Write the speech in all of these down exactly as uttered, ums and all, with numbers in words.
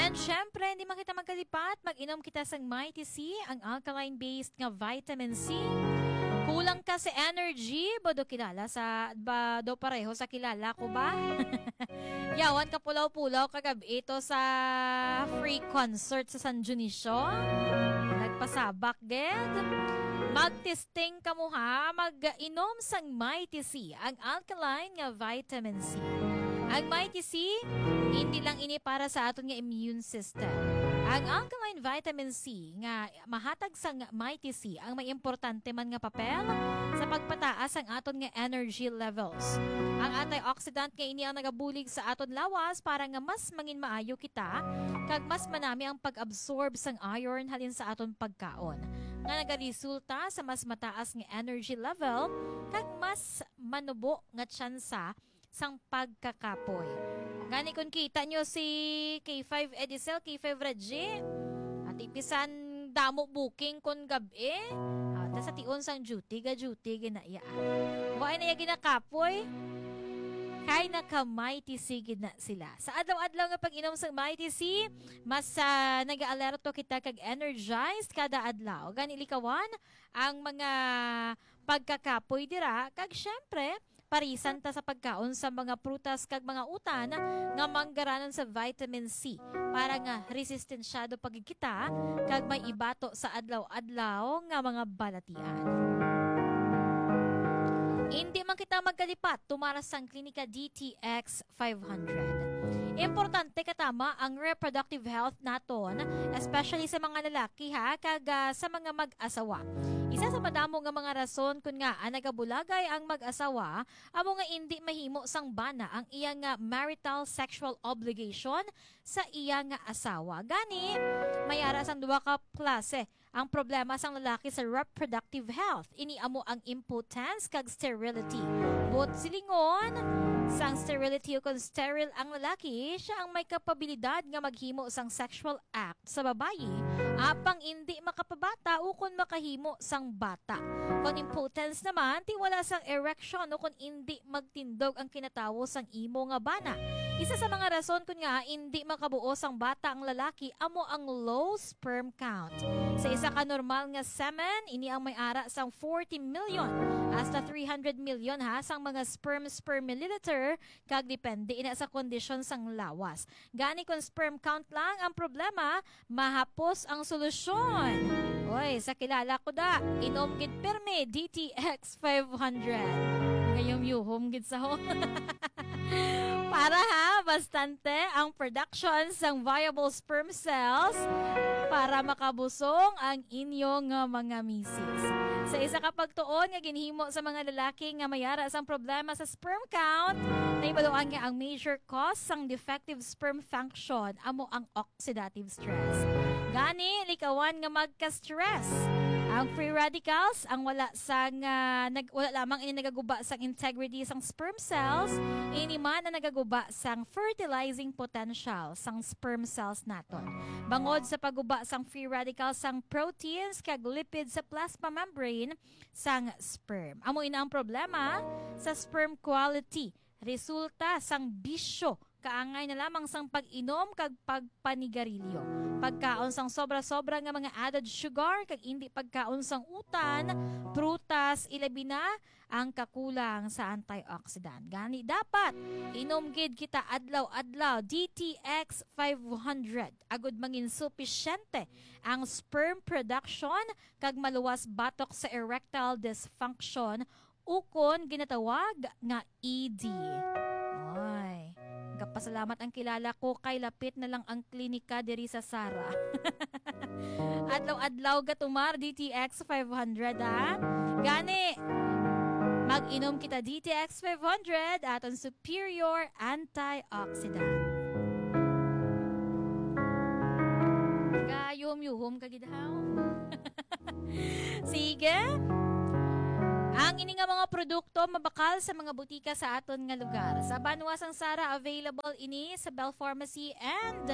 And syempre, hindi man kita magkalipat, mag-inom kita sang Mighty C, ang alkaline-based nga vitamin C. Kulang ka sa energy, ba do kilala sa, ba do pareho sa kilala ko ba? Yawan ka pulaw-pulaw kagab ito sa free concert sa San Dionisio. Nagpasabak, gid. Magtesting ka mo ha, mag-inom sang Mighty C, ang alkaline nga vitamin C. Ang Mighty C, hindi lang ini para sa aton nga immune system. Ang alkaline vitamin C nga mahatag sang Mighty C ang may importante man nga papel sa pagpataas sang aton nga energy levels. Ang antioxidant nga ini ang nagabulig sa aton lawas para nga mas mangin maayo kita kag mas manami ang pag-absorb sang iron halin sa aton pagkaon, nga nagaresulta sa mas mataas nga energy level kag mas manubo nga tsansa sang pagkakapoy. Gani, kung kita nyo si K five Edicel, K five Reggie, ati pisan damo booking kon gab-i. Ah, ta sa tion sang duty, ga duty, ginaya. Wa na iya ginakapoy. Kay naka-Mighty C gid na sila. Sa adlaw-adlaw nga pag-inom sang Mighty C, mas, ah, nag-aalerto kita kag energized kada adlaw. Gani, likawan ang mga pagkakapoy dira, kag syempre, parisan ta sa pagkaon sa mga prutas kag mga utan nga manggaranon sa vitamin C para nga resistensyado pa gid kita kag may ibato sa adlaw-adlaw nga mga balatian. Indi man kita magkalipat tumar sang Klinika D T X five hundred. Importante katama ang reproductive health naton, especially sa mga lalaki, ha, kag, ah, sa mga mag-asawa. Isa sa madamo nga mga rason kun ngaa nagabulagay ang mag-asawa amo nga indi mahimo sang bana ang iya nga marital sexual obligation sa iya nga asawa. Gani, may ara sang duha ka klase ang problema sang lalaki sa reproductive health. Ini amo ang impotence kag sterility. Buot silingon, sang sterility ukon sterile ang lalaki, siya ang may kapabilidad nga maghimo sang sexual act sa babayi, apang indi makapabata ukon makahimo sang bata. Kon impotence naman, ti wala sang erection ukon indi magtindog ang kinatawo sang imo nga bana. Isa sa mga rason kun ngaa indi makabuo sang bata ang lalaki amo ang low sperm count. Sa isa ka normal nga semen, ini ang may ara sang forty million hasta three hundred million ha sang mga sperm per milliliter, kag depende ina sa kondisyon sang lawas. Gani, kung sperm count lang ang problema, mahapos ang solusyon. Oy, sa kilala ko da, inom gid pirmi D T X five hundred. Ngayom yuhom gid sa ho. Para ha, bastante ang production sang viable sperm cells para makabusong ang inyo nga mga misis. Sa isa ka pagtuon nga ginhimo sa mga lalaki nga may ara sang problema sa sperm count, nahibaluan nga ang major cause sang defective sperm function amo ang oxidative stress. Gani, likawan nga magka-stress. Ang free radicals, ang wala sang, ah, nag-, wala lamang ini nagaguba sang integrity sang sperm cells, ini man ang nagaguba sang fertilizing potential sang sperm cells naton. Bangod sa pagguba sang free radicals sang proteins kag lipids sa plasma membrane sang sperm. Amo ina ang problema sa sperm quality. Resulta sang bisyo, kaangay na lamang sang pag-inom kag pagpanigarilyo, pagkaon sang sobra-sobra nga mga added sugar, kag indi pagkaon sang utan, prutas, ilabi na ang kakulang sa antioxidant. Gani, dapat inom gid kita adlaw-adlaw D T X five hundred agud mangin supisyente ang sperm production kag maluwas batok sa erectile dysfunction ukon ginatawag nga E D. Oy, gapasalamat ang kilala ko kay lapit na lang ang klinika diri sa Sara. Adlaw-adlaw gatumar D T X five hundred, ha? Gani, mag-inom kita D T X five hundred, aton superior antioxidant. Gayom-yuhom ka gid, haw? Sige. Ang ini nga mga produkto mabakal sa mga butika sa aton nga lugar. Sa banwa sang Sara, available ini sa Bell Pharmacy and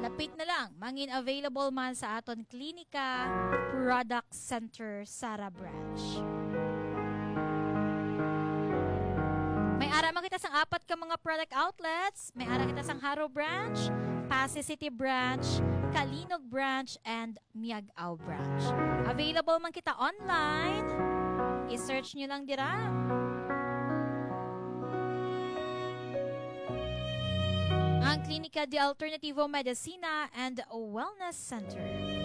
lapit na lang, mangin available man sa aton Klinika Product Center Sara Branch. May ara man kita sang apat ka mga product outlets. May ara kita sang Jaro Branch, Passi City Branch, Calinog Branch, and Miag-ao Branch. Available man kita online. I-search nyo lang dira. Ang Klinika de Alternativo Medicina and Wellness Center.